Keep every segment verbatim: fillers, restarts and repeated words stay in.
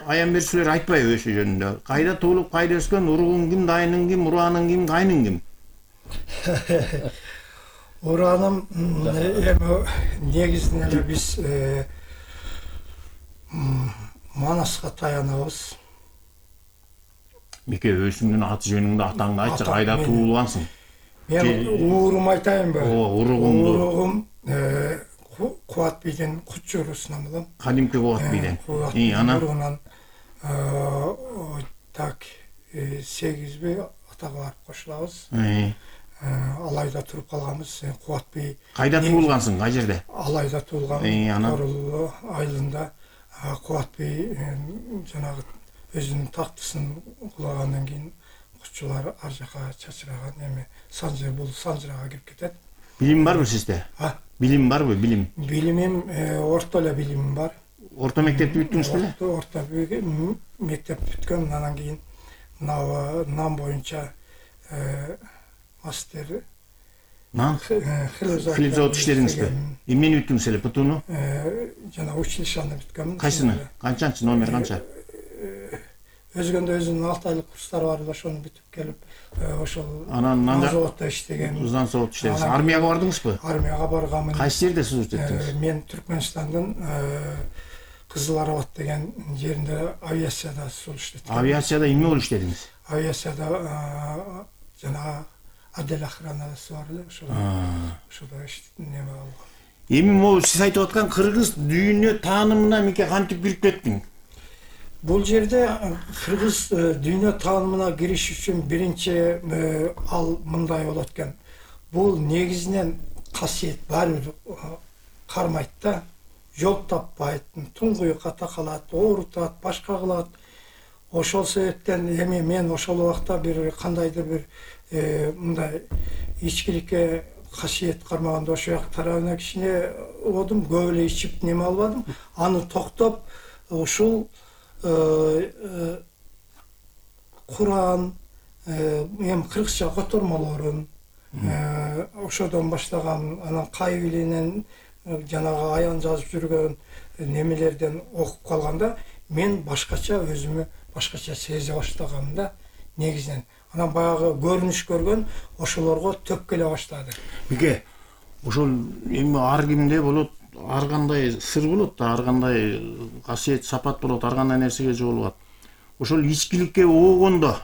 аян бери силер айтпайбы ошо жөнүндө? Кайда туулуп, кайда өскөн, уругуң ким, дайының ким, урааның ким, кайның ким? Урааным эми негизинен эле биз Манаска таянабыз. Мике, өзүңдүн аты жөнүңдү, атаңды айтчы, кайда туулгансың? Мен уурум айтайынбы? Ооба, уругуңду. Уругум Кубат бийдин Куччу уруусунан болом. Кадимки Кубат бийден. И анан так сегизби атага барып кошулабыз. Алайда туруп калганбыз. Кубат бий. Кайда туулгансың, кай жерде? Алайда туулгам. Торул айылында Кубат бий жанагы өзүнүн тактысын кулагандан кийин куччулар ар жака чачыраган, эми Санжыр бул Санжырага кирип кетет. Билим барбы сизде? Билим барбы, билим? Билимим орто эле билимим бар. Орто мектепти бүттүңүз беле? Орто мектеп бүткөм, андан кийин нан боюнча мастер Нан? Хлеб завод иштедиңизби? Эмнени бүттүңүз эле, ПТУну? Жана училищаны бүткөм. Кайсыны? Канчанчы, номер канча? Өзгөндө өзүнүн алты айлык курстары бар, ошону бүтүп келип, ошол анан заводдо иштеген. Нан заводдо иштедиңиз. Армияга бардыңызбы? Армияга барганмын. Кайсы жерде служба эттиңиз? Мен Түркмөнстандын Кызыл Арбат деген жеринде авиацияда служба эттим. Авиацияда эмне болуп иштедиңиз? Авиацияда жана отдел охранасы бар эле, ошол ошодо неме болгон. Эми могу сиз айтып аткан кыргыз дүйнө таанымына мике кантип кирип кеттиң? Бул жерде кыргыз дүйнө таанымына кириш үчүн биринчи ал мындай болот экен. Бул негизинен касиет баары кармайт да, жол таппайт, туңгуюкка такалат, оорутат, башка кылат. Ошол себептен эми мен ошол убакта бир кандайдыр бир мындай ичкиликке касиет кармаганда ошол жак тарабына кичине одум, көп эле ичип неме албадым. Аны токтоп ушул Куран, эми кыргызча котормолорун ошодон баштаган, анан Кайвилинен жанагы аян жазып жүргөн немелерден окуп калганда мен башкача өзүмө башкача сезе баштагам да негизинен. Анан баягы көрүнүш көргөн ошолорго төп келе баштады. Мике, ошол эми ар кимде болот, ар кандай сыр болот да, ар кандай касиет, сапат болот, ар кандай нерсеге жолугат. Ошол ичкиликке оогондо,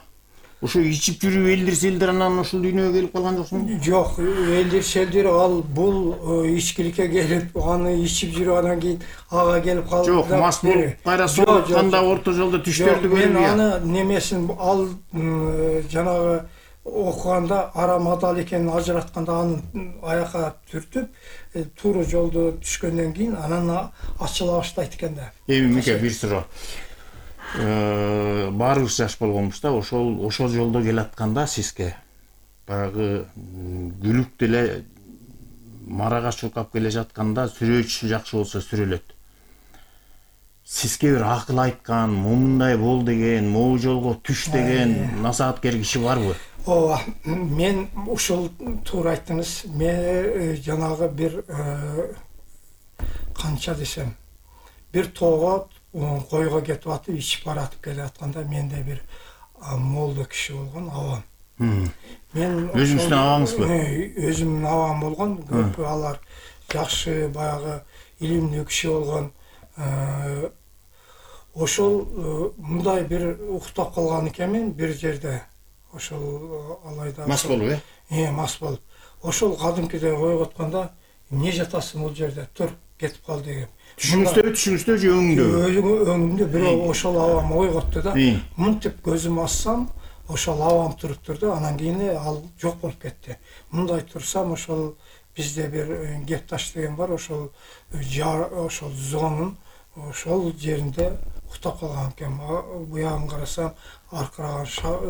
ошо ичип жүрүп элдир селдир анан ушул дүйнөгө келип калган жоксуңбу? Жок, элдир селдир ал бул ичкиликке келип, аны ичип жүрүп анан кийин ага келип калды. Жок, мас болуп кайра соолукканда орто жолдо түштөрдү көрүп. Мен аны немесин ал жанагы окуганда арам адал экенин ажыратканда аны аяка түртүп, туура жолдо түшкөндөн кийин анан ачыла баштайт экен да. Эми мике бир суроо. Баарыбыз жаш болгонбуз да, ошол ошол жолдо келатканда сизге баягы күлүк деле марага чуркап келе жатканда сүрөөчүсү жакшы болсо сүрөлөт. Сизге бир акыл айткан, мындай бол деген, могу жолго түш деген насааттер киши барбы? Ооба, мен ушул туура айттыңыз. Мен жанагы бир канча десем, бир тоого койго кетип атып, ичип баратып келе атканда менде бир молдо киши болгон, абам. Мен өзүңүздүн абаңызбы? Өзүмдүн абам болгон, көп алар жакшы баягы илимдүү киши болгон. Ошол мындай бир уктап калган экенмин бир жерде. Ошол алайда мас болуп, э? Э, мас болуп. Ошол кадимкидей койготкондо, эмне жатасың бул жерде? Тур, кетип кал деген. Түшүңүздө, түшүңүздө же өңүңдө? Өңүмдө, бирок ошол абам ойготту да. Мынтип көзүм ачсам, ошол абам туруптур да, анан кийин ал жок болуп кетти. Мындай турсам, ошол бизде бир Гепташ деген бар, ошол ошол зонун ошол жеринде уктап калган экен. Буягын карасам, аркыраган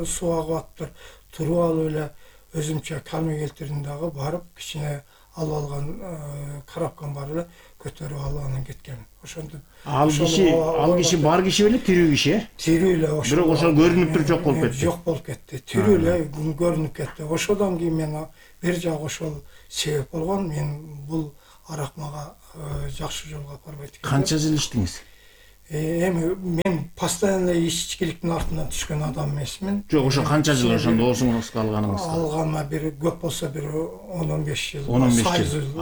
суу агып атыптыр. Туруп алып эле өзүмчө калме келтирдим дагы, барып кичине алып алган коробкам бар эле, көтөрүп алып анан кеткен. Ошондо ал киши, ал киши бар киши беле, тирүү киши, э? Тирүү эле, ошо. Бирок ошол көрүнүп туруп жок болуп кетти. Жок болуп кетти. Тирүү эле көрүнүп кетти. Ошодон кийин мен бир жак ошол себеп болгон. Мен бул арак мага жакшы жолго апарбайт экен. Канча жыл иштеңиз? Эми мен постоянно ичкиликтин артынан түшкөн адам эмесмин. Жок, ошо канча жыл ошондо доосуңузга алганыңызга? Алганына бир көп болсо бир он он беш жыл. он он беш жыл.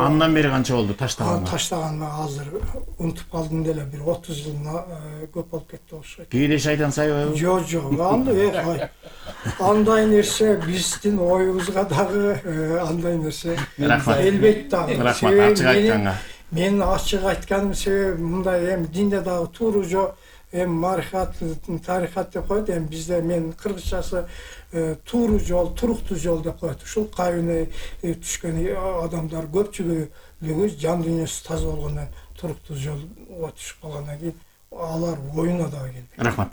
Андан бери канча болду таштаганга? Таштаганыма азыр унутуп калдым деле, бир отуз жылына көп болуп кетти окшойт. Кээде шайтан сайбайбы? Жок, жок. Андай андай нерсе биздин оюбузга дагы андай нерсе. Рахмат. Элбетте. Рахмат, ачык айтканга. Мен ачык айтканым себеби мындай эми динде дагы туура жок, эми марихат, тарихат деп коет, эми бизде мен кыргызчасы туура жол, туруктуу жол деп коет. Ушул кайына түшкөн адамдар көпчүлүгү жан дүйнөсү таза болгондон туруктуу жолго түшүп калгандан кийин алар оюна дагы келбейт. Рахмат.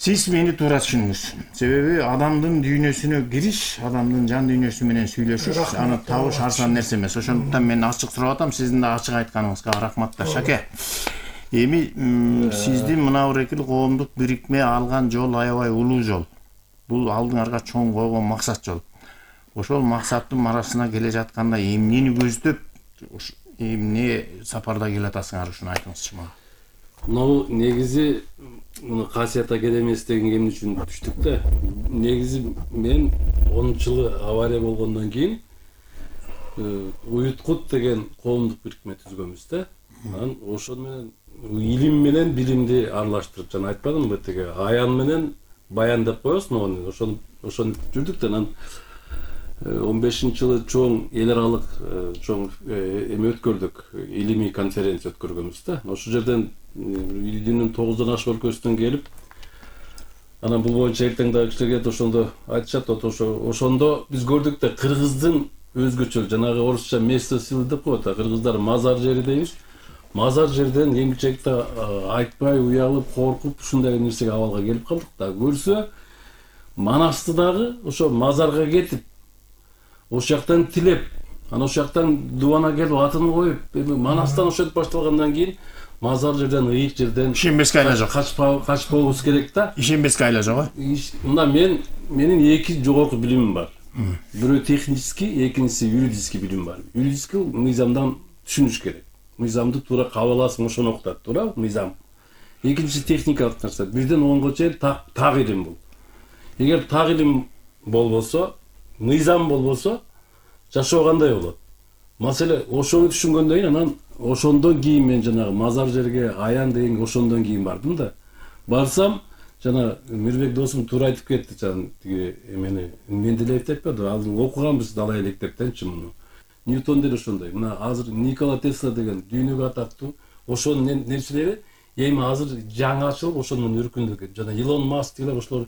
Сиз мени туура түшүндүңүз. Себеби адамдын дүйнөсүнө кириш, адамдын жан дүйнөсү менен сүйлөшүш, аны табыш арзан нерсе эмес. Ошондуктан мен ачык сурап атам, сиздин да ачык айтканыңызга рахматтар, Шаке. Эми сиздин мына Урекил коомдук бирикме алган жол аябай улуу жол. Бул алдыңарга чоң койгон максат жол. Ошол максаттын марасына келе жатканда эмнени көздөп, эмне сапарда келе атасыңар, ушуну айтыңызчы мага. Мына негизи муну Касият академиясы деген эмне үчүн түштүк да. Негизи мен онунчу жылы авария болгондон кийин Уюткут деген коомдук бирикме түзгөнбүз да. Анан ошол менен илим менен билимди аралаштырып, жана айтпадымбы тиги аян менен баян деп коебуз, могу ошон ошон жүрдүк да. Анан он бешинчи жылы чоң эл аралык чоң эме өткөрдүк, илимий конференция өткөргөнбүз да. Ошол жерден илдин тогуздон ашык өлкөсүнөн келип, анан бул боюнча эртең дагы кишилер келет, ошондо айтышат, ошо ошондо биз көрдүк да кыргыздын өзгөчө жанагы орусча место силы деп коет, кыргыздар мазар жери дейбиз. Мазар жерден эмгичекте айтпай, уялып, коркуп ушундай нерсеге абалга келип калдык да. Көрсө Манасты дагы ошо мазарга кетип, ошол жактан тилеп, анан ошол жактан дубана келип атын коюп, эми Манастан ошентип башталгандан кийин мазар жерден, ыйык жерден ишенбеске айла жок. Качпабыз керек да. Ишенбеске айла жок. Мында мен менин эки жогорку билимим бар. Бирөө технический, экинчиси юридический билим бар. Юридический мыйзамдан түшүнүш керек. Мыйзамды туура кабыл аласың, ошону окутат, туура мыйзам. Экинчиси техникалык нерсе. Бирден онго чейин так илим бул. Эгер так илим болбосо, мыйзам болбосо, жашоо кандай болот? Маселе ошону түшүнгөндөн кийин анан ошондон кийин мен жанагы мазар жерге аян деген ошондон кийин бардым да. Барсам, жана Мирбек досум туура айтып кетти, жана тиги эмени мен деле айтпады, ал окуганбыз далай электептенчи муну. Ньютон деле ошондой. Мына азыр Никола Тесла деген дүйнөгө атактуу ошонун нерселери эми азыр жаңы ачылып ошондон үркүндү. Жана Илон Маск деле ошолор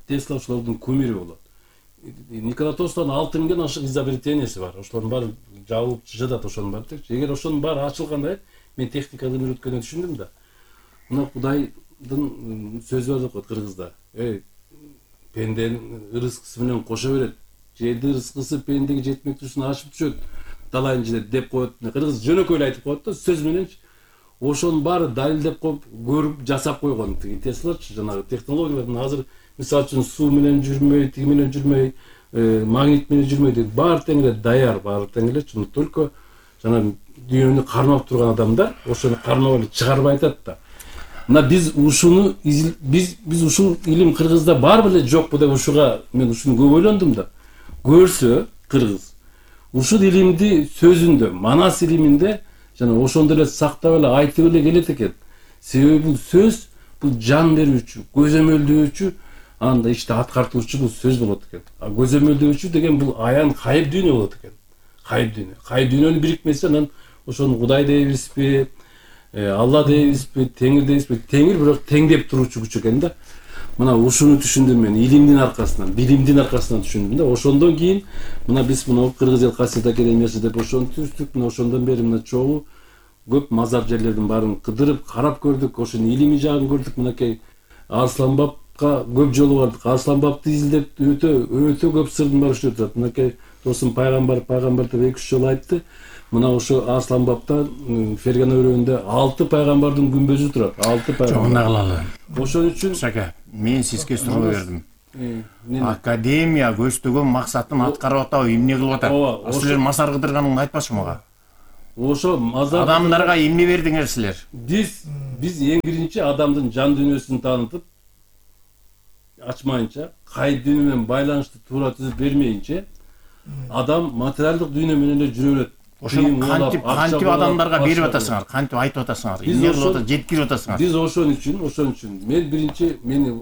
Тесла ошолордун кумири болот. Никола Тесланын алты миңден ашык изобретенияси бар. Ошолордун баары жабылып жатат, ошонун баары. Эгер ошонун баары ачылгандай, мен техниканы үйрөткөндөн түшүндүм да. Мына Кудайдын сөзү бар деп коет кыргызда. Эй, пенденин ырыскысы менен кошо берет. Жерди ырыскысы пендеге жетмектүү үчүн ашып түшөт. Далайын жедет деп коет. Кыргыз жөнөкөй эле айтып коет да, сөз мененчи. Ошонун баары далилдеп коюп, көрүп, жасап койгон. Тиги Теслачы жанагы технологиялардын азыр мисалы үчүн суу менен жүрмөй, тиги менен жүрмөй, магнит менен жүрмөй деп баары тең эле даяр, баары тең эле. Только жана дүйнөнү кармап турган адамдар ошону кармап эле чыгарбай атат да. Мына биз ушуну биз биз ушул илим кыргызда бар беле жокпу деп ушуга мен ушуну көп ойлондум да. Көрсө кыргыз ушул илимди сөзүндө, Манас илиминде жана ошондой эле сактап эле айтып эле келет экен. Себеби бул сөз бул жан берүүчү, көзөмөлдөөчү, анда иште аткартуучу бул сөз болот экен. А көзөмөлдөөчү деген бул аян кайып дүйнө болот экен. Кайып дүйнө. Кайып дүйнөнүн бирикмеси анан ошону Кудай дейбизби, Алла дейбизби, Теңир дейбизби? Теңир бирок теңдеп туруучу күч экен да. Мына ушуну түшүндүм мен илимдин аркасынан, билимдин аркасынан түшүндүм да. Ошондон кийин мына биз мына Кыргыз эл Касият академиясы деп ошону түздүк. Мына ошондон бери мына чогуу көп мазар жерлердин баарын кыдырып, карап көрдүк, ошонун илимий жагын көрдүк. Мынакей Арсланбапка көп жолу бардык. Арсланбапты изилдеп өтө өтө көп сырдын баары иштеп турат. Мынакей досум пайгамбар, пайгамбар деп эки үч жолу айтты. Мына ошо Арсланбапта Фергана өрөөнүндө алты пайгамбардын күмбөзү турат. алты пайгамбар. Жогуна кылалы. Ошон үчүн Шаке, мен сизге суроо бердим. Академия көздөгөн максатын аткарып атабы, эмне кылып атат? Ооба, Силер мазар кыдырганыңды айтпачы мага. Ошо мазар Адамдарга эмне бердиңер силер? Биз биз эң биринчи адамдын жан дүйнөсүн таанытып ачмайынча, кайып дүйнө менен байланышты туура түзүп бермейинче, адам материалдык дүйнө менен эле жүрө берет. Ошону кантип кантип адамдарга берип атасыңар, кантип айтып атасыңар, эмне жеткирип атасыңар? Биз ошон үчүн, ошон үчүн мен биринчи мени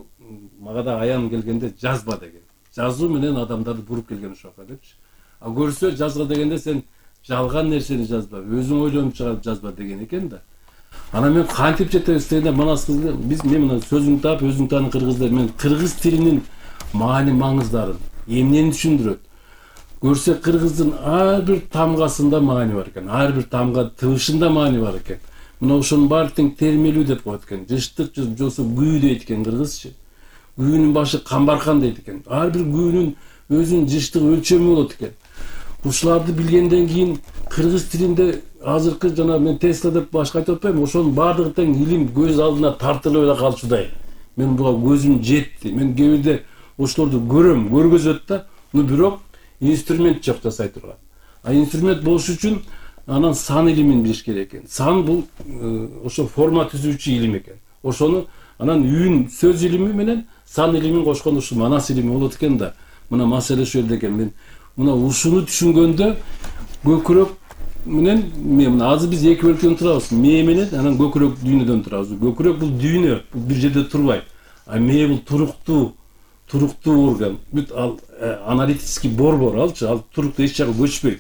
мага да аян келгенде жазба деген. Жазуу менен адамдарды буруп келген ошока депчи. А көрсө жазга дегенде сен жалган нерсени жазба, өзүң ойлонуп чыгарып жазба деген экен да. Анан мен кантип жетебиз дегенде манас кызды биз мен мына сөзүң таап өзүң тааны кыргыздар мен кыргыз тилинин маани маңыздарын, эмнени түшүндүрөт. Көрсө кыргыздын ар бир тамгасында маани бар экен, ар бир тамга тыбышында маани бар экен. Мына ошонун баары тең термелүү деп коет экен. Жыштык жосо күү дейт экен кыргызчы. Күүнүн башы камбаркан дейт экен. Ар бир күүнүн өзүнүн жыштык өлчөмү болот экен. Ушуларды билгенден кийин кыргыз тилинде азыркы жана мен Тесла деп башка айтып атпайм, ошонун баардыгы тең илим көз алдына тартылып эле калчудай. Мен буга көзүм жетти. Мен кээ бирде ошолорду көрөм, көргөзөт да, но бирок инструмент жок жасай турган. А инструмент болуш үчүн анан сан илимин билиш керек экен. Сан бул ошо форма түзүүчү илим экен. Ошону анан үн сөз илими менен сан илимин кошкондо ушу манас илими болот экен да. Мына маселе ушул жерде экен. Мен мына ушуну түшүнгөндө көкүрөк менен мен мына азыр биз эки бөлүктөн турабыз. Мээ менен анан көкүрөк дүйнөдөн турабыз. Көкүрөк бул дүйнө, бул бир жерде турбайт. А мээ бул туруктуу, туруктуу орган. Бүт ал аналитический борбор алчы, ал туруктуу эч жака көчпөйт.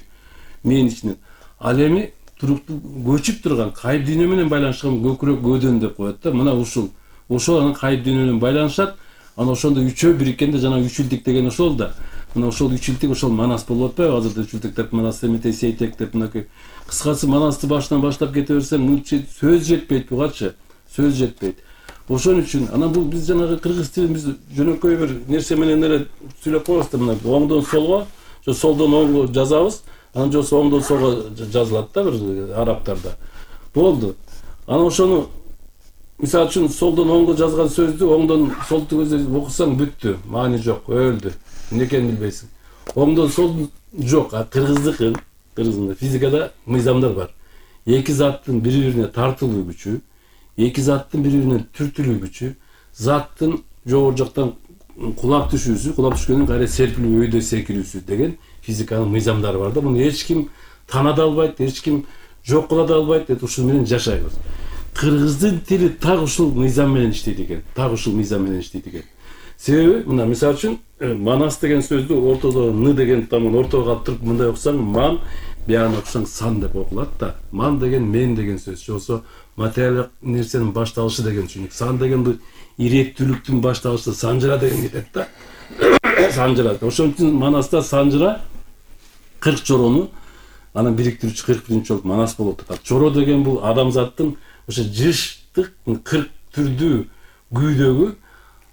Мээнин ичинен. Ал эми туруктуу көчүп турган, кайып дүйнө менен байланышкан көкүрөк көдөн деп коет да. Мына ушул. Ошол анан кайып дүйнө менен байланышат. Анан ошондо үчөө бириккенде жана үчүлдүк деген ошол да. Мына ошол үчүлдүк ошол манас болуп атпайбы? Азырда үчүлдүк деп манас эмете сейтек деп мынакей. Кыскасы манасты башынан баштап кете берсем, сөз жетпейт бугачы. Сөз жетпейт. Ошон үчүн анан бул биз жанагы кыргыз тилин биз жөнөкөй бир нерсе менен эле сүйлөп коебуз да, мына оңдон солго, же солдон оңго жазабыз, анан же оңдон солго жазылат да бир арабтарда. Болду. Анан ошону мисалы үчүн солдон оңго жазган сөздү оңдон солдо окусаң бүттү, маани жок, өлдү. Эмне экенин билбейсиң. Оңдон сол жок, а кыргыздыкы, кыргыздын физикада мыйзамдар бар. Эки заттын бири-бирине тартылуу күчү, эки заттын бири-бирине түртүлүү күчү, заттын жогору жактан кулап түшүүсү, кулап түшкөндөн кайра серпилүү, өйдө секирүүсү деген физиканын мыйзамдары бар да. Муну эч ким тана да албайт, эч ким жок кыла да албайт, ушул менен жашайбыз. Кыргыздын тили так ушул мыйзам менен иштейт экен. Так ушул мыйзам менен иштейт экен. Себеби мына мисалы үчүн манас деген сөздү ортодо ны деген тамын ортого калтырып мындай окусаң ман, биягына окусаң сан деп окулат да. Ман деген мен деген сөз. Жосо материалдык нерсенин башталышы деген түшүнүк. Сан деген бул иреттүүлүктүн башталышы, санжыра деген кетет да. Санжыра. Ошон үчүн манаста санжыра кырк жорону анан бириктирүүчү кырк биринчи болуп манас болуп атат. Жоро деген бул адамзаттын ошо жыштык кырк түрдүү күүдөгү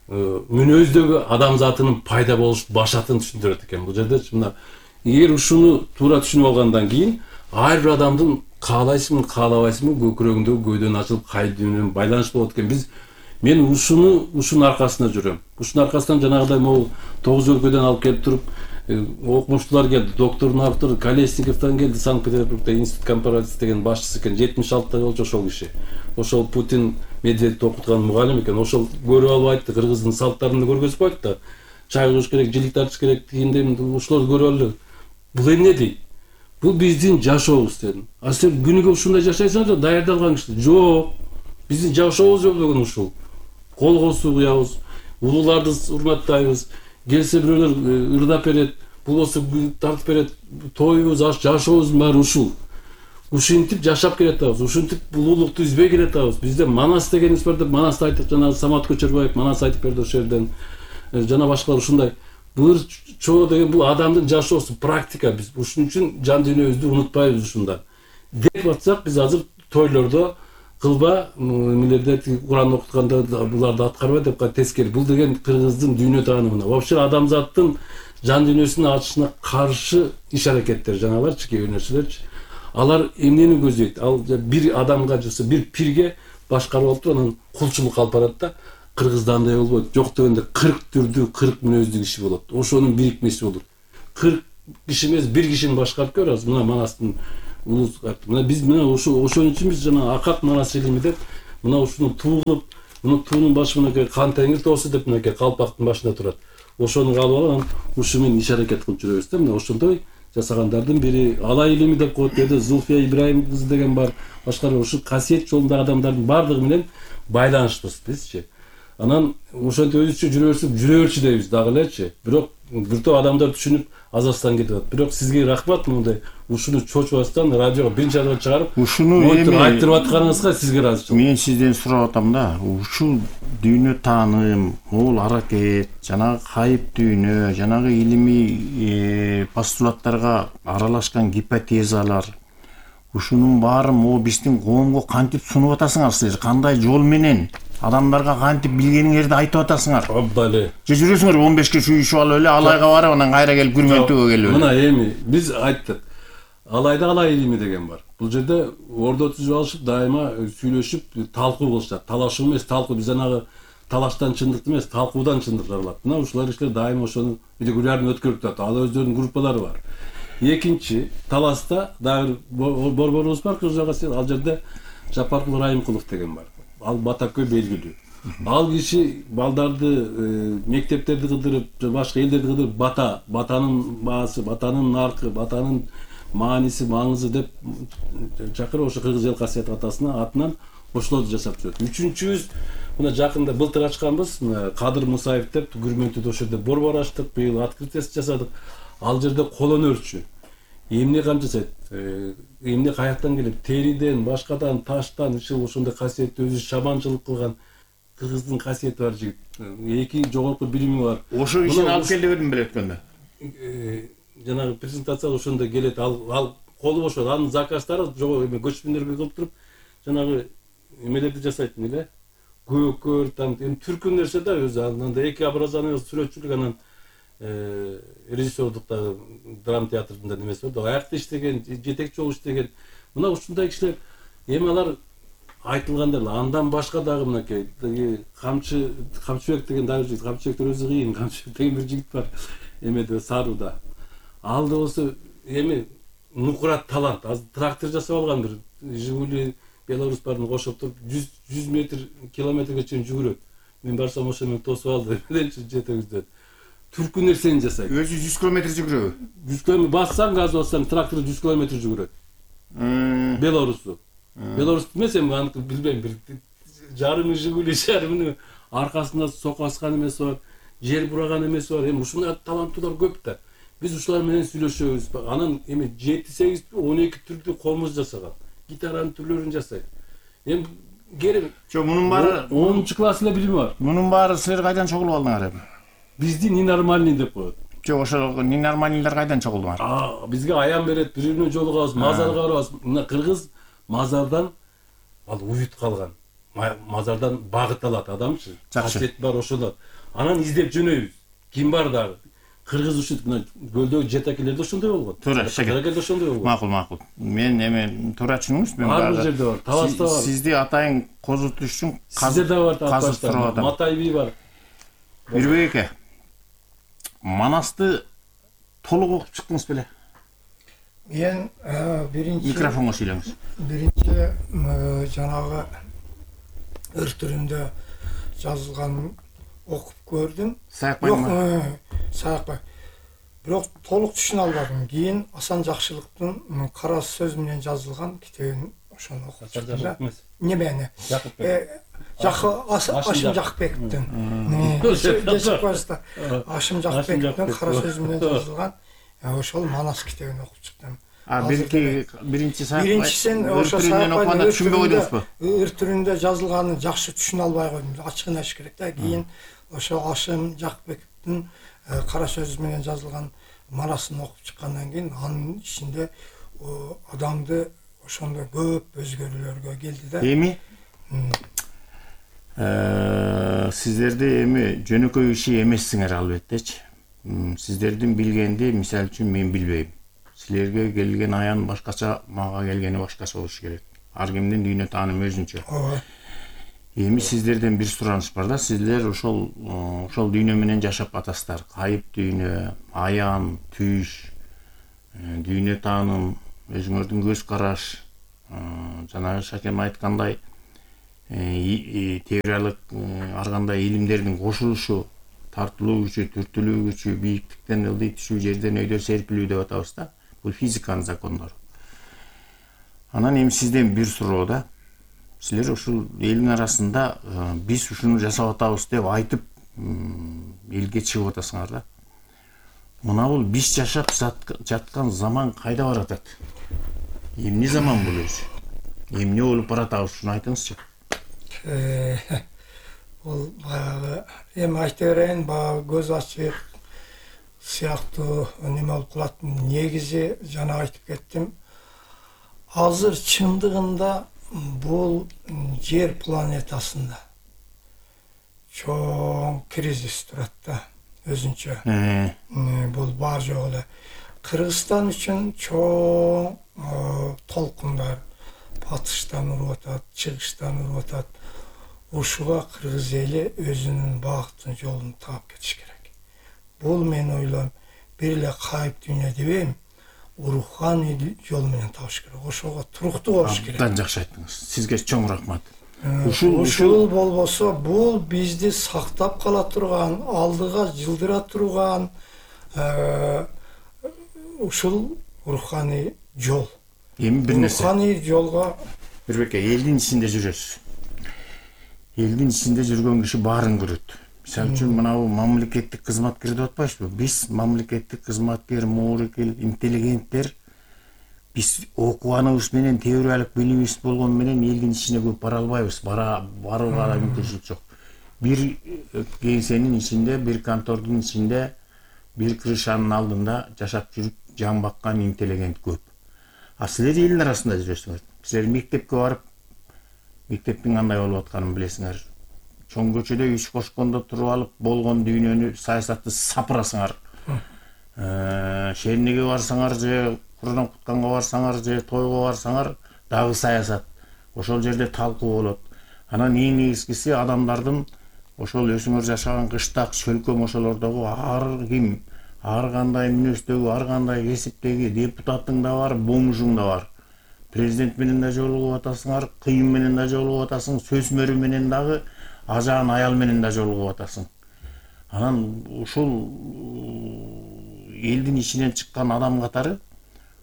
мүнөздөгү адамзатынын пайда болуш башатын түшүндүрөт экен. Бул жерде мына эгер ушуну туура түшүнүп алгандан кийин ар бир адамдын каалайсыңбы, каалабайсыңбы көкүрөгүндөгү көйдөн ачылып кайып дүйнө менен байланыш болот экен. Биз мен ушуну ушунун аркасында жүрөм. Ушунун аркасынан жанагыдай могул тогуз өлкөдөн алып келип туруп окумуштуулар келди. Доктордун автору Колесниковдон келди, Санкт-Петербургда институт компаративист деген башчысы экен. жетимиш алтыда болчу ошол киши. Ошол Путин Медведевди окуткан мугалим экен. Ошол көрүп алып айтты, кыргыздын салттарын көргөзүп койт да. Чай куюш керек, жилик тартыш керек дегенде ушуларды көрүп алып. Бул эмне дейт? Бул биздин жашообуз дедим. А сен күнүгө ушундай жашайсыңар да даярдалган киши. Жок. Биздин жашообуз бүгүн ушул. Колго суу куябыз, улууларды урматтайбыз. Келсе бирөөлөр ырдап берет, болбосо тартып берет. Тоюбуз, жашообуздун баары ушул. Ушинтип жашап келатабыз, ушинтип улуулукту үзбөй келатабыз. Бизде манас дегенибиз бар деп манасты айтып, жана Самат Көчөрбаев манас айтып берди ошол жерден. Жана башкалар ушундай. Бул чоо деген бул адамдын жашоосу, практика. Биз ушун үчүн жан дүйнөбүздү унутпайбыз ушунда. Деп атсак, биз азыр тойлордо кылба, эмелерде Куран окутканда буларды аткарба деп тескери. Бул деген кыргыздын дүйнө таанымына, вообще адамзаттын жан дүйнөсүнүн ачышына каршы иш-аракеттер, жанагыларчы, кээ бир нерселерчи. Алар эмнени көзөйт? Ал бир адамга жаса бир пирге башкарып алып туруп анан кулчулук алып барат да. Кыргызда андай болбойт. Жок дегенде кырк түрдүү, кырк мүнөздүү киши болот. Ошонун бирикмеси болот. кырк киши эмес, бир кишини башкарып көр азыр. Мына манастын улус карты. Мына биз мына ошо ошон үчүн биз жана акак манас илими деп мына ушуну туу кылып, мына туунун башы мынакей кан теңир тоосу деп мынакей калпактын башында турат. Ошону алып алып, ушу менен иш аракет кылып жүрөбүз да. Мына ошондой жасагандардын бири Алай илими деп коет деди, Зулфия Ибраим кызы деген бар. Башкары ушу касиет жолундагы адамдардын бардыгы менен байланыштыбыз бизчи. Анан ошентип өзүбүзчө жүрө берсек, жүрө берчи дейбиз дагы элечи. Бирок бир топ адамдар түшүнүп Азастан кетип атат. Бирок сизге рахмат, мындай ушуну чочубастан радиого биринчи жолу чыгарып, ушуну эми эми айтырып атканыңызга сизге ыраазычылык. мен сизден сурап атам да, ушул дүйнө тааным, могул аракет, жанагы кайып дүйнө, жанагы илимий постулаттарга аралашкан гипотезалар, ушунун баарын могу биздин коомго кантип сунуп атасыңар силер? Кандай жол менен адамдарга кантип билгениңерди айтып атасыңар? Абдали. Же жүрөсүңөр он бешке сүйүшүп алып эле Алайга барып анан кайра келип күрмөнтүүгө келип эле. Мына эми биз айттык. Алайда Алай илими деген бар. Бул жерде ордо түзүп алышып, дайыма сүйлөшүп, талкуу кылышат. Талашуу эмес, талкуу. Биз анагы талаштан чындыкты эмес, талкуудан чындык алат. Мына ушулар иштер дайыма ошону регулярно өткөрүп турат. Ал өздөрүнүн группалары бар. Экинчи, таласта дагы борборубуз бар, Кыргызга сел. Ал жерде Жапаркул Райымкулов деген бар. Ал батакөй белгилүү. Ал киши балдарды, мектептерди кыдырып, башка элдерди кыдырып, бата, батанын баасы, батанын наркы, батанын мааниси, маңызы деп чакырып, ошо Кыргыз эл касиет атасына атынан ошолорду жасап жүрөт. Үчүнчүбүз мына жакында былтыр ачканбыз, Кадыр Мусаев деп Күрмөнтүдө ошо жерде борбор ачтык, быйыл открытиясы жасадык. Ал жерде кол өнөрчү. Эмне кам жасайт? Эмне каяктан келип, териден, башкадан, таштан, ушул ошондой касиетти өзү шабанчылык кылган Кыргыздын касиети бар жигит. Эки жогорку билими бар. Ошо ишин алып келди бердим беле өткөндө. Жанагы презентацияга ошондой келет. Ал ал колу бошот. Анын заказдары жогору эме көчмөндөргө кылып туруп, жанагы эмелерди жасайт эле. Көкөр, там эми түркүн нерсе да өзү. Анда эки образование сүрөтчүлүк, анан режиссердук дагы драма театрында немеси бар. Аякта иштеген, жетекчи болуп иштеген. Мына ушундай кишилер эми алар айтылганда андан башка дагы мынакей Камчы Камчыбек деген дагы жигит, Камчыбектер өзү кыйын, Камчыбек деген бир жигит бар эмеде Саруда. Ал да болсо эми нукурат талант. Азыр трактор жасап алган, бир Жигули Беларусь барын кошуп туруп жүз метр километрге чейин жүгүрөт. Мен барсам ошо менен тосуп алды. Жетегизден. Түркү нерсени жасайт. Өзү жүз километр жүгүрөбү? жүз километр бассаң, газ бассаң, трактор жүз километр жүгүрөт. Беларусу. Беларусь эмес, эми аны билбейм, бир жарым Жигули жарымын аркасында сокаскан эмеси бар, жер бураган эмеси бар. Эми ушундай таланттуулар көп да. Биз ушулар менен сүйлөшөбүз. Анан эми жети сегиз он эки түрдүү комуз жасаган. Гитаранын түрлөрүн жасайт. Эми керек. Жо, мунун баары онунчу класс эле билими бар. Мунун баары силер кайдан чогулуп алдыңар эми? Бизди ненормальный деп коет. Жо, ошол ненормальныйлар кайдан чогулдуңар? А, бизге аян берет, бири-бирине жолугабыз, мазарга барабыз. Мына кыргыз мазардан ал уют калган. Мазардан багыт алат адамчы. Касиет бар ошолор. Анан издеп жөнөйбүз. Ким бар дагы? Кыргыз ушинтип мына көлдөгү жетекелерде ошондой болгон. Туура, жетекелерде ошондой болгон. Макул, макул. Мен эми туура түшүнүңүз, мен бар бир жерде бар, Таласта бар. Сизди атайын козутуш үчүн Сизде да бар казып Матай би бар. Бирбек эке. Манасты толук окуп чыктыңыз беле? Мен биринчи Микрофонго сүйлөңүз. Биринчи жанагы ыр түрүндө жазылганын окуп көрдүм. Саякбай ма? Саякбай. Бирок толук түшүнө албадым. Кийин Асан Жакшылыктын кара сөз менен жазылган китебин ошону окуп чыктым. Немени? Ашым Жакбековдун. Ашым Жакбековдун кара сөз менен жазылган ошол Манас китебин окуп чыктым. А биринчи биринчи Саякбай. Биринчисин ошо Саякбайдын түшүнбөй койдуңузбу? Ыр түрүндө жазылганын жакшы түшүнө албай койдум. Ачыгын айтыш керек да. Кийин ошо Ашым Жакбековдун кара сөз менен жазылган Манасын окуп чыккандан кийин анын ичинде адамды ошондой көп өзгөрүүлөргө келди да. Эми сиздерди эми жөнөкөй иши эмессиңер албеттечи. Сиздердин билгенди мисалы үчүн мен билбейм. Силерге келген аян башкача, мага келгени башкача болуш керек. Ар кимдин дүйнө таанымы өзүнчө. Эми сиздерден бир сураныш бар да, сиздер ошол ошол дүйнө менен жашап атасыздар. Кайып дүйнө, аян, түш, дүйнө тааным, өзүңөрдүн көз караш, жанагы Шакем айткандай, теориялык ар кандай илимдердин кошулушу, тартылуу күчү, түртүлүү күчү, бийиктиктен ылдый түшүү, жерден өйдө серпилүү деп атабыз да. Бул физиканын закондору. Анан эми сизден бир суроо да. Силер ушул элдин арасында биз ушуну жасап атабыз деп айтып элге чыгып атасыңар да. Мына бул биз жашап жаткан заман кайда баратат? Эмне заман бул өзү? Эмне болуп баратабыз, ушуну айтыңызчы. Бул баягы эми айта берейин, баягы көз ачык сыяктуу неме болуп калат. Негизи жана айтып кеттим. Азыр чындыгында бул жер планетасында чоң кризис турат да, өзүнчө. Бул бар жок эле. Кыргызстан үчүн чоң толкундар батыштан уруп атат, чыгыштан уруп атат. Ушуга кыргыз эли өзүнүн багытын, жолун таап кетиш керек. Бул мен ойлойм, бир эле кайып дүйнө дебейм, руханий жол менен табыш керек. Ошого туруктуу болуш керек. Абдан жакшы айттыңыз. Сизге чоң рахмат. Ушул ушул болбосо бул бизди сактап кала турган, алдыга жылдыра турган ушул руханий жол. Эми бир нерсе. Руханий жолго Бирбеке, элдин ичинде жүрөсүз. Элдин ичинде жүргөн киши баарын көрөт. Мисалы үчүн мынабу мамлекеттик кызматкер деп атпайбызбы? Биз мамлекеттик кызматкер, моорекил, интеллигенттер биз окуганыбыз менен, теориялык билимибиз болгон менен элдин ичине көп бара албайбыз. Бара барууга да мүмкүнчүлүк жок. Бир кеңсенин ичинде, бир контордун ичинде, бир крышанын алдында жашап жүрүп жан баккан интеллигент көп. А силер элдин арасында жүрөсүңөр. Силер мектепке барып, мектептин кандай болуп атканын билесиңер. Чоң көчөдө үч кошкондо туруп алып, болгон дүйнөнү, саясатты сапырасыңар. Шернеге барсаңар же Курдан кутканга барсаңар же тойго барсаңар, дагы саясат. Ошол жерде талкуу болот. Анан эң негизгиси адамдардын ошол өзүңөр жашаган кыштак, чөлкөм ошолордогу ар ким, ар кандай мүнөздөгү, ар кандай кесиптеги депутаттың да бар, бомжуң да бар. Президент менен да жолугуп атасыңар, кыйын менен да жолугуп атасың, сөз мөрү менен дагы, ажаан аял менен да жолугуп атасың. Анан ушул элдин ичинен чыккан адам катары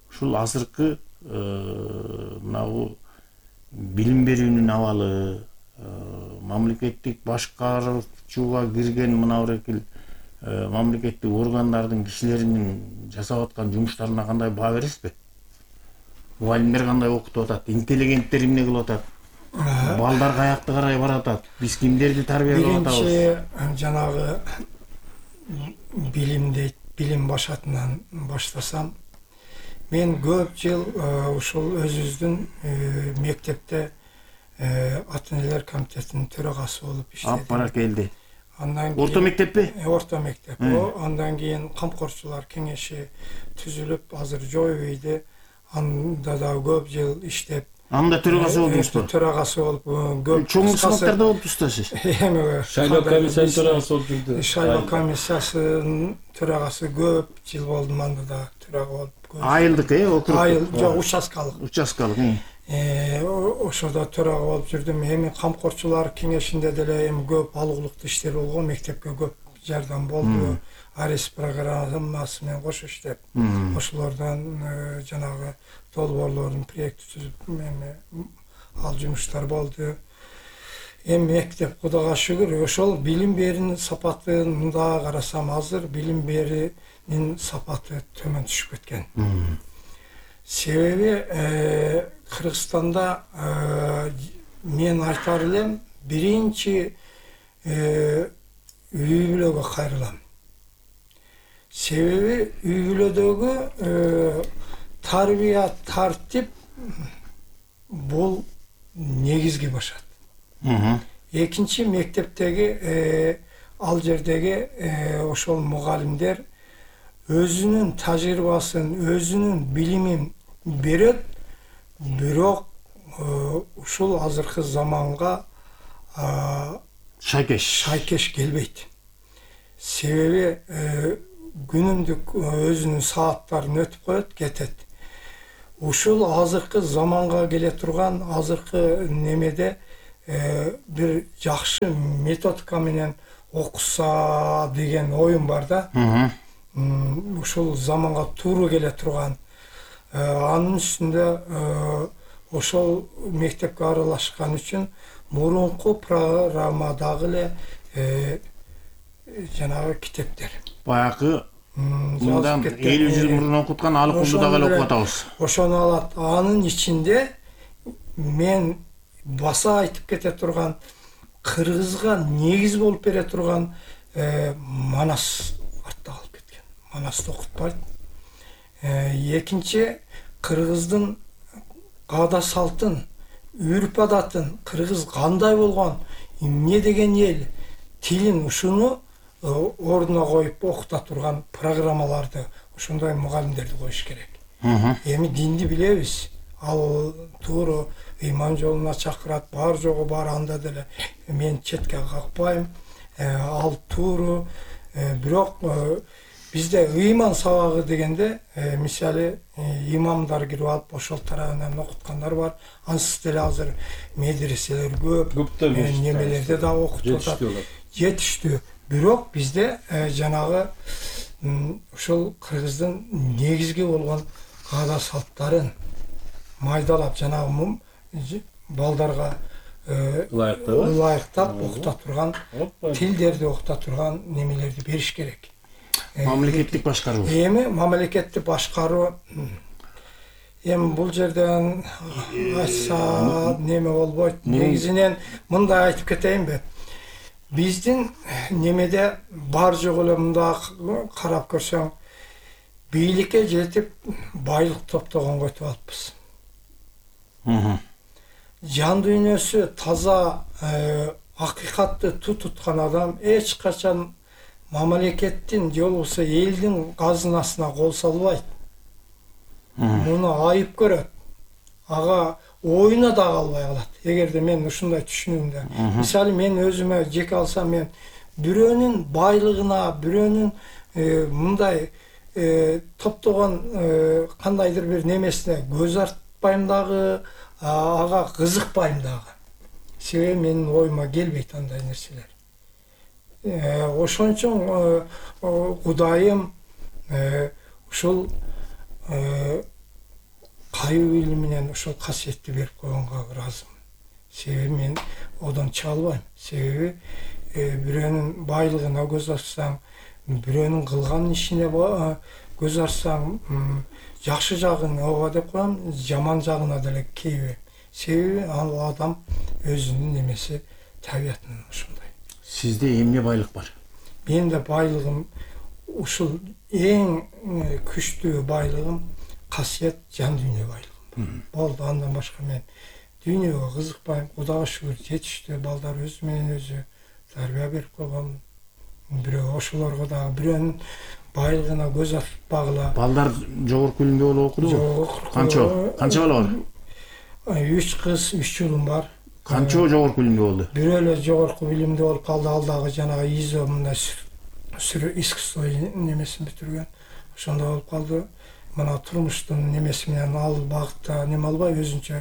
ушул азыркы мынабу билим берүүнүн абалы, мамлекеттик башкаруучуга кирген мынабу мамлекеттик органдардын кишилеринин жасап аткан жумуштарына кандай баа бересизби? Мугалимдер кандай окутуп атат, интеллигенттер эмне кылып атат, балдар каякта карай баратат, биз кимдерди тарбиялап атабыз? Биринчи жанагы билим дейт, билим башатынан баштасам, мен көп жыл ушул өзүбүздүн мектепте ата энелер комитетинин төрагасы болуп иштедим. Ап баракелди. Андан кийин Орто мектеппи? Орто мектеп. Андан кийин камкорчулар кеңеши түзүлүп, азыр жойбойду. Анда да көп жыл иштеп, анда төрагасы болдуңузбу? Төрагасы болуп, көп чоң кызматтарда болуптуз да сиз. Эми Шайлоо комиссиянын төрагасы болуп жүрдү. Шайлоо комиссиясынын төрагасы көп жыл болдум, анда да төрага болуп. Айылдык, э, округ. Айыл, жок, участкалык. Участкалык, э. Ошодо төрага болуп жүрдүм. Эми камкорчулар кеңешинде деле эми көп алгылыктуу иштер болгон, мектепке көп жардам болду. Арес программасы менен кошо иштеп, ошолордон жанагы долбоорлордун проекти түзүп, эми ал жумуштар болду. Эми мектеп Кудайга шүгүр, ошол билим берүүнүн сапатын да карасам, азыр билим берүүнүн сапаты төмөн түшүп кеткен. Себеби Кыргызстанда мен айтар элем, биринчи үй бүлөгө кайрылам. Себеби үй бүлөдөгү тарбия, тартип бул негизги башат. Экинчи, мектептеги ал жердеги ошол мугалимдер өзүнүн тажрыйбасын, өзүнүн билимин берет, бирок ушул азыркы заманга шайкеш шайкеш келбейт. Себеби күнүмдүк өзүнүн сааттарын өтүп коет, кетет. Ушул азыркы заманга келе турган азыркы немеде э, бир жакшы методика менен окуса деген оюм бар да. М, ушул заманга туура келе турган. Э, анын үстүндө э, ошол мектепке аралашкан үчүн мурунку программадагы эле э, жанагы китептер. Баягы М, мындан жазып кеткен, элүү жыл э, мурун окуткан алы кулду ошону дагы эле эле- окуп атабыз. Ошону алат. Анын ичинде мен баса айтып кете турган кыргызга негиз болуп бере турган э, Манас артта калып кеткен. Манасты окутпайт. Э, экинчи кыргыздын каада салтын, үрп адатын, кыргыз кандай болгон, эмне деген эл, тилин ушуну э, ордуна коюп окута турган программаларды, ошондой мугалимдерди коюш керек. Эми динди билебиз. Ал туура ыйман жолуна чакырат, бар жогу бар анда деле мен четке какпайм. Э, Ал туура. Э, Бирок э, бизде ыйман сабагы дегенде э, мисалы э, имамдар кирип алып ошол тарабынан окуткандар бар. Ансыз деле азыр медреселер көп. Көптөр Э, мешіт Немелерде да окутуп атат. жетиштүү болот. Жетиштүү. Бирок бизде э, жанагы м, ушул кыргыздын негизги болгон каада салттарын майдалап жанагы мум- ж- балдарга э, Ылайыктабы? ылайыктап окута турган, Опа. тилдерди окута турган немелерди бериш керек. Э, Мамлекеттик башкаруу. Эми мамлекетти башкаруу м, эми бул жерден айтса неме болбойт. Негизинен мындай айтып кетейинби? Биздин немеде бар жок эле мында карап көрсөң бийликке жетип байлык топтогонго өтүп алыппыз. Жан дүйнөсү таза э, акыйкатты ту туткан адам эч качан мамлекеттин же болбосо элдин казынасына кол салбайт. Муну айып көрөт. Ага оюна да калбай калат. Эгерде мен ушундай түшүнүүмдө. Мисалы мен өзүмө жеке алсам, мен бирөөнүн байлыгына, бирөөнүн э, мындай э, топтогон э, кандайдыр бир немесине көз артпайм дагы, а- ага кызыкпайм дагы. Себеби менин оюма келбейт андай нерселер. Э, Ошон үчүн э, о, Кудайым э, ушул э, кайуу или менен ошол касиетти берип койгонго ыраазымын. Себеби мен одон чыга албайм. Себеби э, бирөөнүн байлыгына көз ачсаң, бирөөнүн кылган ишине ба- көз ачсаң, м, жакшы жагын ооба деп коем, жаман жагына деле кейбейм. Себеби ал адам өзүнүн немеси, табиятынан ушундай. Сизде эмне байлык бар? Менде байлыгым ушул эң э, күчтүү байлыгым касиет, жан дүйнө байлыгым. Болду, андан башка мен дүйнөгө кызыкпайм. Кудайга шүгүр, жетиштүү балдар өзү менен өзү тарбия берип койгон. Бирөө ошолорго дагы бирөөнүн байлыгына көз ачпагыла. Балдар жогорку билимде болуп окудубу? Жок. Канча? Канча бала бар? Үч кыз, үч улум бар. Канча жогорку билимде болду? Бирөө эле жогорку билимде болуп калды, ал дагы жанагы изо мындай сүрө искусство немесин бүтүргөн. Ошондой болуп калды. Мына турмуштун немеси менен ал багытта неме албай, өзүнчө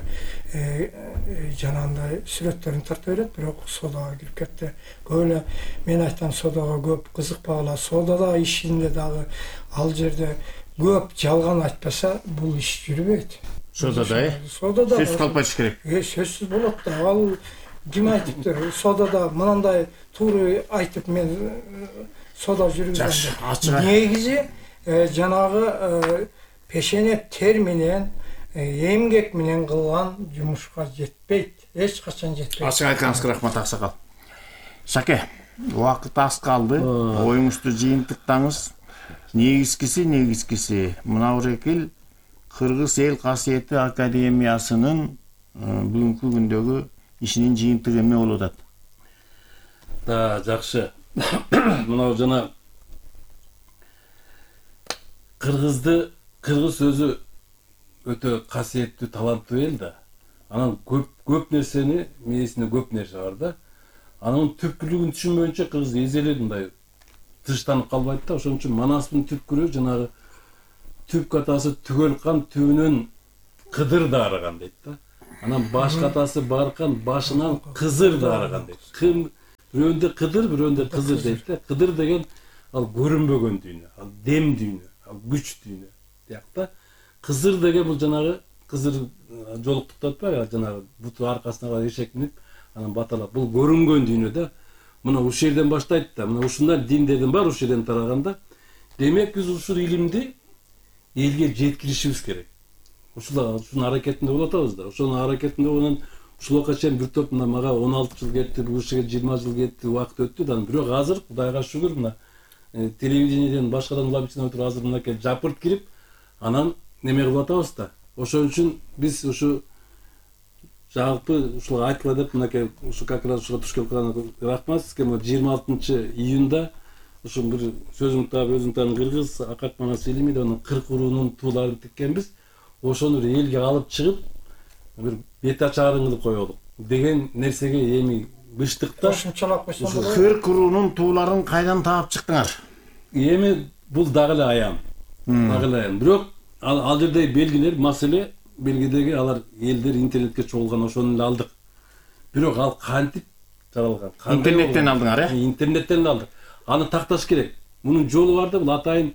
э, э, жанагындай сүрөттөрүн тарта берет, бирок содага кирип кетти. Көп эле мен айтам, содага көп кызыкпагыла. Содада ишинде дагы ал жерде көп жалган айтпаса, бул иш жүрбөйт. Содада, э? Содада Сөз калп айтыш керек. Э, сөзсүз болот да. Ал ким айтыптыр? Содада мынандай туура айтып мен э, сода жүргүзгөм. Жакшы, ачык. Негизи э, жанагы э, пешене тер менен, э, эмгек менен кылган жумушка жетпейт. Эч качан жетпейт. Ачык айтканыңызга рахмат, Аксакал. Шаке, убакыт аз калды. Оюңузду жыйынтыктаңыз. Негизгиси, негизгиси мына Урекил Кыргыз эл касиети академиясынын бүгүнкү күндөгү ишинин жыйынтыгы эмне болуп атат? Да, жакшы. Мына жана кыргызды кыргыз өзү өтө касиеттүү, таланттуу эл да. Анан көп көп нерсени, мээсинде көп нерсе бар да. Анын түпкүлүгүн түшүнбөйүнчө кыргыз эзелеп мындай тыштанып калбайт да. Ошон үчүн Манастын түпкүрү жанагы түп катасы түгөл кан түбүнөн кыдыр дарыган дейт да. Анан баш катасы баркан башынан кызыр дарыган дейт. Кым бирөөндө кыдыр, бирөөндө кызыр дейт да. Кыдыр деген ал көрүнбөгөн дүйнө, ал дем дүйнө, ал күч дүйнө. Тиякта кызыр деген бул жанагы кызыр жолуктуп атпайбы, жанагы буту аркасына карай эшек минип, анан баталап. Бул көрүнгөн дүйнө да. Мына ушул жерден баштайт да. Мына ушундай диндердин бар ушул жерден тараганда. Демек биз ушул илимди элге жеткиришибиз керек. Ушул ушунун аракетинде болуп атабыз да. Ошонун аракетинде онун ушулга чейин бир топ мына мага он алты жыл кетти, бул кишиге жыйырма жыл кетти, убакыт өттү да. Бирок азыр Кудайга шүгүр мына телевидениеден башкадан улам ичине отуруп азыр мынакей жапырт кирип, анан неме кылып атабыз да. Ошон үчүн биз ушу жалпы ушуга айтыла деп мынакей ушу как раз ушуга туш келип калган рахмат сизге. жыйырма алтынчы июнда ушу бир сөзүм таап өзүм таан кыргыз Акат Манас илимиде анын кырк уруунун тууларын тиккенбиз. Ошону бир элге алып чыгып бир бет ачарын кылып коелук деген нерсеге эми быштык да. Кошумчалап койсоң болот. кырк уруунун тууларын кайдан таап чыктыңар? Эми бул дагы эле аян. Дагы эле аян. Бирок ал, ал жердеги белгилер, маселе белгидеги алар элдер интернетке чогулган, ошону эле алдык. Бирок ал кантип жаралган? Интернеттен алдыңар, э? Интернеттен алдык. Аны такташ керек. Мунун жолу бар да, бул атайын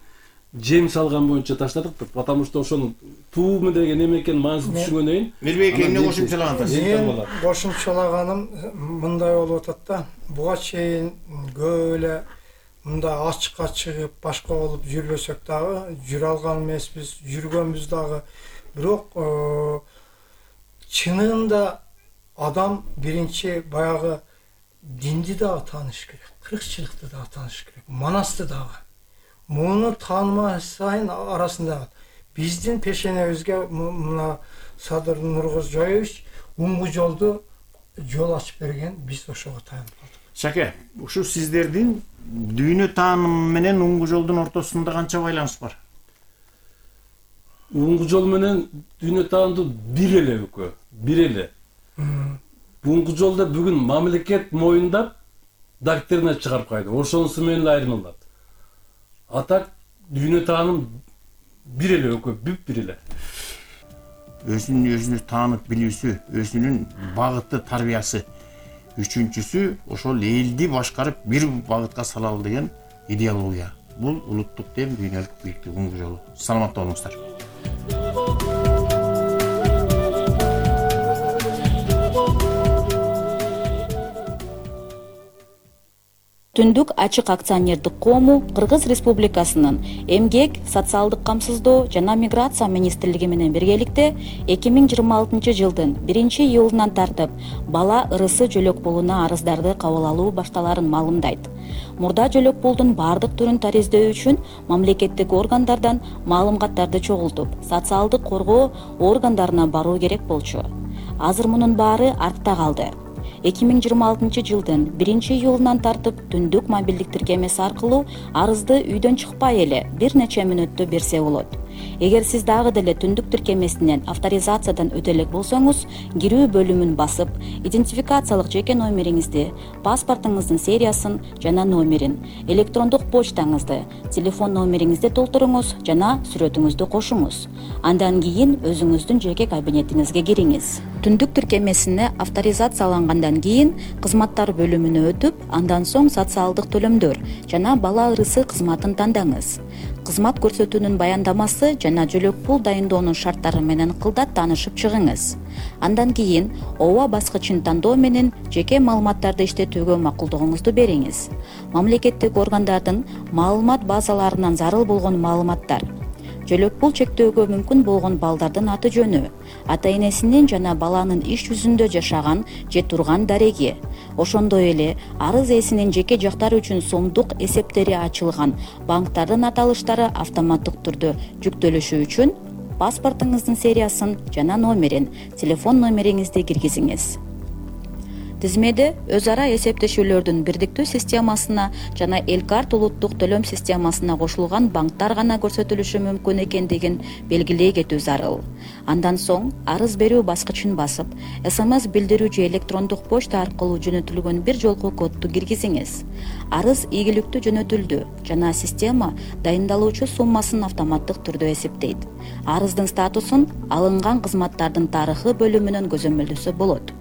жем салган боюнча таштадык деп, потому что ошону туу деген неме экенин маанисин түшүнгөндөн кийин Мирбек эмне кошумчалагансыз? Мен кошумчалаганым мындай болуп атат да. Буга чейин көп эле мындай ачыкка чыгып башка болуп жүрбөсөк дагы, жүрө алган эмеспиз, жүргөнбүз дагы. Бирок чынында адам биринчи баягы динди дагы тааныш керек, кыркчылыкты дагы тааныш керек, манасты дагы. Муну таанымай сайын арасында биздин пешенебизге мына Садыр Нуркожоевич уңгу жолду жол ачып берген, биз ошого таянып калдык. Шаке, ушу сиздердин дүйнө таанымы менен уңгу жолдун ортосунда канча байланыш бар? Уңгу жол менен дүйнө таанымы бир эле экөө, бир эле. Уңгу жолда бүгүн мамлекет моюндап доктрина чыгарып кайды. Ошонусу менен эле айырмалат. Атак дүйнө тааным бир эле экөө, бүп бир эле. Өзүн өзүнү таанып билүүсү, өзүнүн багыты, тарбиясы. Үчүнчүсү ошол элди башкарып бир багытка салалы деген идеология. Бул улуттук дем, дүйнөлүк бийликтик уңгу жолу. Саламатта болуңуздар. Түндүк ачык акционердик коому Кыргыз Республикасынын Эмгек, социалдык камсыздоо жана миграция министрлиги менен биргеликте эки миң жыйырма алтынчы жылдын биринчи июлунан тартып бала ырысы жөлөк пулуна арыздарды кабыл алуу башталарын маалымдайт. Мурда жөлөк пулдун бардык түрүн тариздөө үчүн мамлекеттик органдардан маалыматтарды чогултуп, социалдык коргоо органдарына баруу керек болчу. Азыр мунун баары артта калды. эки миң жыйырма алтынчы жылдын биринчи июлунан тартып түндүк мобилдик тиркемеси аркылуу арызды үйдөн чыкпай эле бир нече мүнөттө берсе болот. Эгер сиз дагы деле түндүк тиркемесинен авторизациядан өтө элек болсоңуз, кирүү бөлүмүн басып, идентификациялык жеке номериңизди, паспортуңуздун сериясын жана номерин, электрондук почтаңызды, телефон номериңизди толтуруңуз жана сүрөтүңүздү кошуңуз. Андан кийин өзүңүздүн жеке кабинетиңизге кириңиз. Түндүк тиркемесине авторизациялангандан кийин кызматтар бөлүмүнө өтүп, андан соң социалдык төлөмдөр жана бала ырысы кызматын тандаңыз. Кызмат көрсөтүүнүн баяндамасы жана жөлөк пул дайындоонун шарттары менен кылдат таанышып чыгыңыз. Андан кийин ооба баскычын тандоо менен жеке маалыматтарды иштетүүгө макулдугуңузду бериңиз. Мамлекеттик органдардын маалымат базаларынан зарыл болгон маалыматтар, жөлөк пул чектөөгө мүмкүн болгон балдардын аты жөнү, ата энесинин жана баланын иш жүзүндө жашаган же турган дареги, ошондой эле арыз ээсинин жеке жактары үчүн сомдук эсептери ачылган банктардын аталыштары автоматтык түрдө жүктөлүшү үчүн паспортуңуздун сериясын жана номерин, телефон номериңизди киргизиңиз. Тизмеде өз ара эсептешүүлөрдүн бирдиктүү системасына жана Элкарт улуттук төлөм системасына кошулган банктар гана көрсөтүлүшү мүмкүн экендигин белгилей кетүү зарыл. Андан соң арыз берүү баскычын басып, СМС билдирүү же электрондук почта аркылуу жөнөтүлгөн бир жолку кодду киргизиңиз. Арыз ийгиликтүү жөнөтүлдү жана система дайындалуучу суммасын автоматтык түрдө эсептейт. Арыздын статусун алынган кызматтардын тарыхы бөлүмүнөн көзөмөлдөсө болот.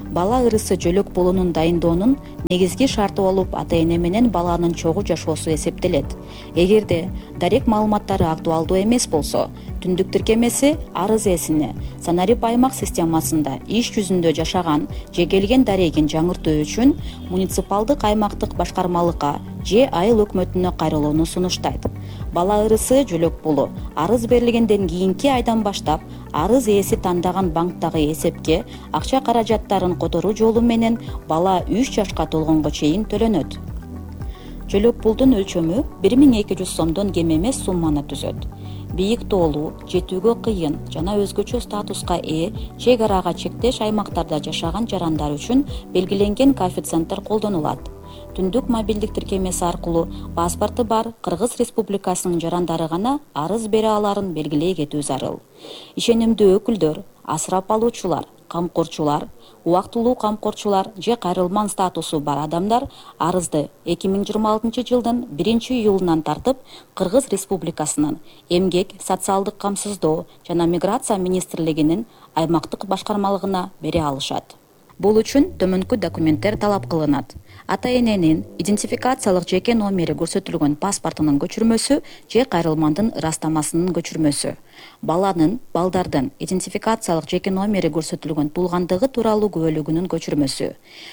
Бала ырысы жөлөк пулунун дайындоонун негизги шарты болуп ата-эне менен баланын чогуу жашоосу эсептелет. Эгерде дарек маалыматтары актуалдуу эмес болсо, түндүк тиркемеси арыз ээсине Санарип аймак системасында иш жүзүндө жашаган же келген дарегин жаңыртуу үчүн муниципалдык аймактык башкармалыкка же айыл өкмөтүнө кайрылууну сунуштайт. Бала ырысы жөлөк пулу арыз берилгенден кийинки айдан баштап арыз ээси тандаган банктагы эсепке акча каражаттарын которуу жолу менен бала үч жашка толгонго чейин төлөнөт. Жөлөк пулдун өлчөмү бир миң эки жүз сомдон кем эмес сумманы түзөт. Бийик тоолуу, жетүүгө кыйын жана өзгөчө статуска ээ чек арага чектеш аймактарда жашаган жарандар үчүн белгиленген коэффициенттер колдонулат. Түндүк мобилдик тиркемеси аркылуу паспорту бар Кыргыз Республикасынын жарандары гана арыз бере аларын белгилей кетүү зарыл. Ишенимдүү өкүлдөр, асырап алуучулар, камкорчулар, убактылуу камкорчулар же кайрылман статусу бар адамдар арызды эки миң жыйырма алтынчы жылдын биринчи июлунан тартып Кыргыз Республикасынын Эмгек, социалдык камсыздоо жана миграция министрлигинин аймактык башкармалыгына бере алышат. Бул үчүн төмөнкү документтер талап кылынат. Ата-эненин идентификациялык жеке номери көрсөтүлгөн паспортунун көчүрмөсү же кайрылмандын ырастамасынын көчүрмөсү. Баланын, балдардын идентификациялык жеке номери көрсөтүлгөн туулгандыгы тууралуу күбөлүгүнүн көчүрмөсү.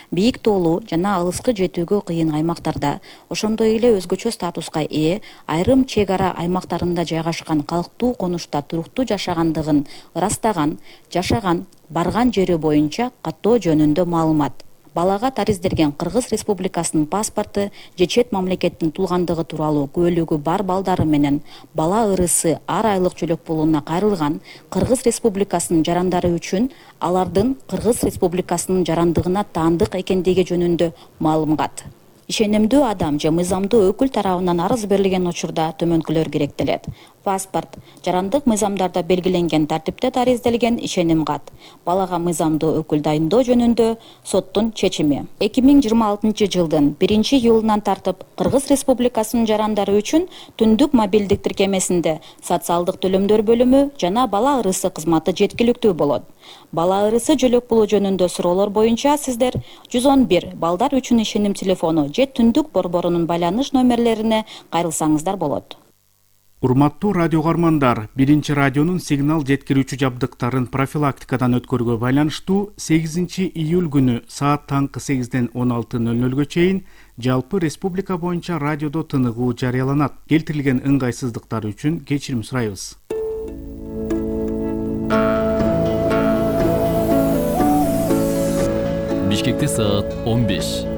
Бийик тоолуу жана алыскы жетүүгө кыйын аймактарда, ошондой эле өзгөчө статуска ээ айрым чек ара аймактарында жайгашкан калктуу конушта туруктуу жашагандыгын ырастаган, жашаган, барган жери боюнча каттоо жөнүндө маалымат. Балага тариздерген Кыргыз Республикасынын паспорту же чет мамлекеттин туулгандыгы тууралуу күбөлүгү бар балдары менен бала ырысы ар айлык жөлөк пулуна кайрылган Кыргыз Республикасынын жарандары үчүн алардын Кыргыз Республикасынын жарандыгына таандык экендиги жөнүндө маалымат. Ишенимдүү адам же мыйзамдуу өкүл тарабынан арыз берилген учурда төмөнкүлөр керектелет. Паспорт, жарандык мыйзамдарда белгиленген тартипте тариздалген ишеним кат, балага мыйзамдуу өкүл дайындоо жөнүндө соттун чечими. эки миң жыйырма алтынчы жылдын биринчи июлунан тартып Кыргыз Республикасынын жарандары үчүн түндүк мобилдик тиркемесинде социалдык төлөмдөр бөлүмү жана бала ырысы кызматы жеткиликтүү болот. Бала ырысы жөлөк пулу жөнүндө суроолор боюнча сиздер жүз он бир балдар үчүн ишеним телефону же түндүк борборунун байланыш номерлерине кайрылсаңыздар болот. Урматтуу радио каармандар, биринчи радионун сигнал жеткирүүчү жабдыктарын профилактикадан өткөрүүгө байланыштуу сегизинчи июль күнү саат таңкы сегизден он алты ноль нолго чейин жалпы республика боюнча радиодо тыныгуу жарыяланат. Келтирилген ыңгайсыздыктар үчүн кечирим сурайбыз. Бишкекте саат он беш.